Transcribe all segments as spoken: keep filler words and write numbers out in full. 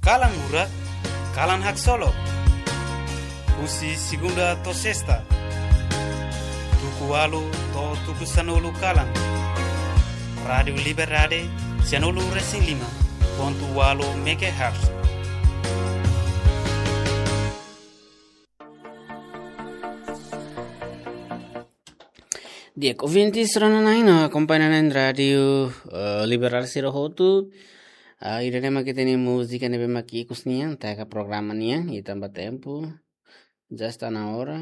Kalan Murak, Kalan Haksolok. Husi segunda to'o sesta, tuku ualu to'o tuku sanulu kalan. Rádiu Liberdade, sanulu resin lima pontu ualu megahertz. Di'ak, ouvintes rona-na'in no akompaña na'in Rádiu, eh, Liberdade sira hotu. Ah, ida-ne'e mak ita-nia múzika ne'ebé mak ikus nian, taka programa nian, i tanba tempu, já está na hora.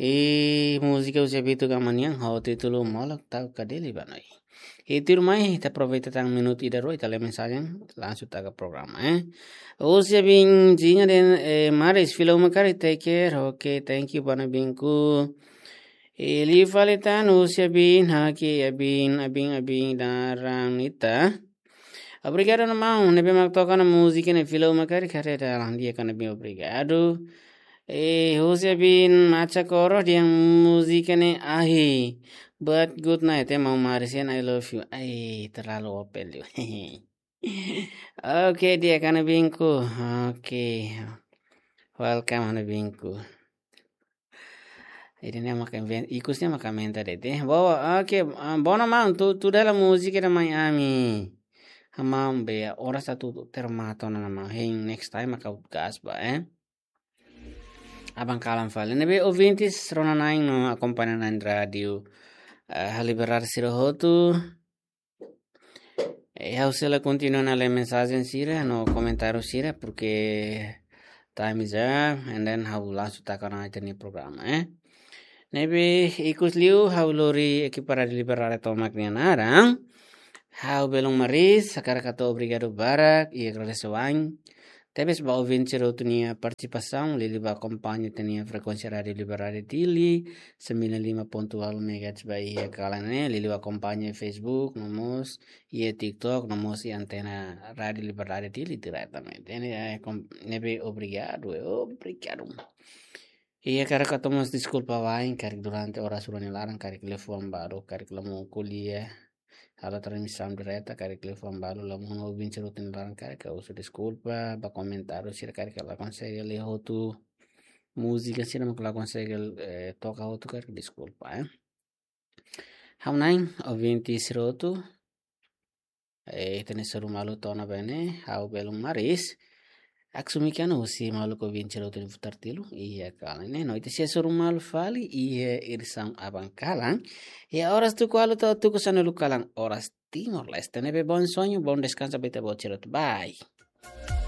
I múzika husi Abitu Gama nian, ho títulu Molok Tau Kadeli ba Noi. I tuirmai, ita aproveita tan minutu ida rua, ita lee mensajen, langsung taka programa, eh. Husi Abin Jinha dehan, eh, Maris, fila uma karik, take care, ok, thank you, ba Abinku. I liu fali tan, husi Abin, haki, Abin, Abin, Abin, naran ita. Obrigadu, maun, ne'ebé mak toka ona múzika ne'e fila uma karik, haree dalan di'ak ona, Abin, obrigadu. Eh, husi Abin Macha Koro dehan múzika ne'e ahi. But good night, eh, maun Maris, and I love you. Ai, terlalu open liu. Ok, di'ak, Abinku. Ok. Welcome, Abinku. Ida-ne'e mak invent, ikus ne'e mak inventa de'it. Boa, ok, ah, boa, maun, tuda, tuda hela múzika ida mai ami. Maun, be, oras atu termata ona, maun. Hein, next time mak ha'u gas ba, eh. Aban kalan fali. Ne'ebé ouvintes rona-na'in no akompaña na'in Rádiu, eh, Liberdade sira hotu. Eh, ha'u sei la kontinua ona lee mensajen sira no komentáriu sira, porque time is up, and then ha'u langsung taka ona ita-nia programa, eh. Ne'ebé ikus liu ha'u lori ekipa Rádiu Liberdade tomak nia naran. Ha'u belun Maris, hakarak hato'o obrigadu barak, i agradese wa'in. Tebes ba ouvinte sira hotu nia partisipasaun, liuliu ba akompaña ita-nia frekuénsia Rádiu Liberdade Dili, sembilan lima pontu ualu megahertz ba iha kalan ne'e, liuliu ba akompaña Facebook, no mós iha TikTok, no mós iha antena Rádiu Liberdade Dili diretamente. Ne'e, eh, kom-, ne'ebé obrigadu, eh, obrigadu. I hakarak hato'o mós deskulpa wa'in, karik durante oras rua nia laran, karik liafuan balu, karik la mak ko'alia, halo transmisaun direta, karik liafuan balu, la mak ouvinte sira hotu nia laran, karik ha'u husu deskulpa, ba komentáriu sira karik la konsege lee hotu, múzika sira mak la konsege, eh, toka hotu, karik deskulpa, eh. Ha'u-nia ouvinte sira hotu, eh, ita-nia sorumutu to'o ona ba ne'e, ha'u belun Maris. Aksumi kiana husi maluk ouvinte sira hotu nia futar tilu, iha kalan ne'e. No ita sei hasoru malu fali, iha edisaun aban kalan. Iha oras tuku ualu to'o tuku sanulu kalan, oras Timor-Leste. Ne'ebé bom sonho, bom descanso, ba ita-boot sira hotu. Bye.